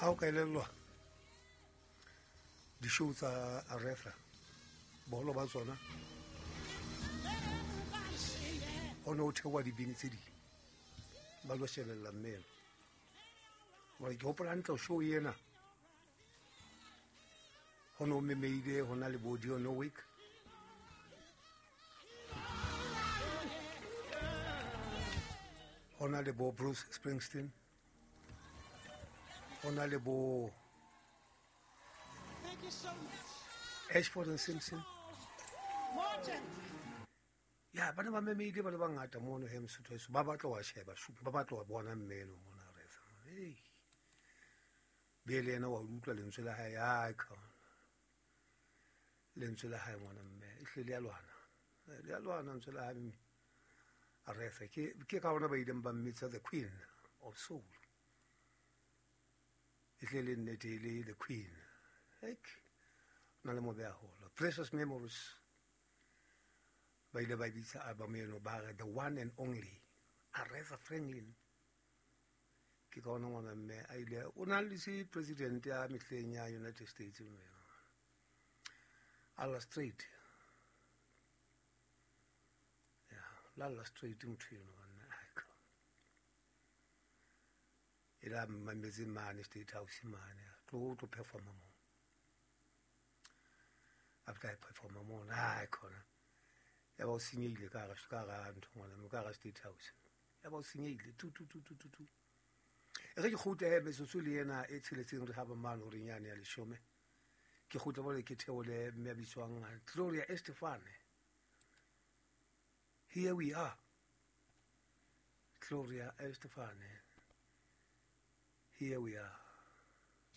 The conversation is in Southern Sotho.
Ha o ka elellwa di-show tsa Aretha, boholo ba tsona ho ne ho theoha dibini tse ding ba lo shebella mmele. Hore ke hopola hantle show ena ho ne ho memeile ho na le bo Dionne Warwick, ho na le bo Bruce Springsteen, ho na le bo Thank you so much. Ashford and Simpson. Martin. Ya ba ne ba memeile ba le bangata mono he Mosotho heso, ba batla wa sheba ba batla wa bona mmeno mona Aretha. Hey. Be le yena wa utlwa lentswe la hae, ai khona. Lentswe la hae ngwana mme, e hle le a lwana. Le a lwana lentswe la hae mme. Aretha ke ka ona ba ileng ba mmitsa the Queen of Soul. E hle le nnete e le the Queen. Ek na le mobe haholo. Precious Memories ba ile ba bitsa album eno ba re the one and only Aretha Franklin. Ke ka ona ngwana mme a ile o na le se president ya mehleng ya United States mme Alla Straight. Ya, la Straight motho eno banna ai ka. E la mametse mane State House mane tlo tlo performa mo. After I performa mo ai khona. Ya ba o senyehile ka hara ka hara ntho ngwana mme ka hara State House. Ya ba o senyehile tu tu tu tu tu tu. E re ke kgutle he metsotso le ena e tsheletseng re haba mane horeng yane ya leshome. Ke kgutle mole ke theole mme a bitswang Gloria Estefan. Here we are. Gloria Estefan. Here we are.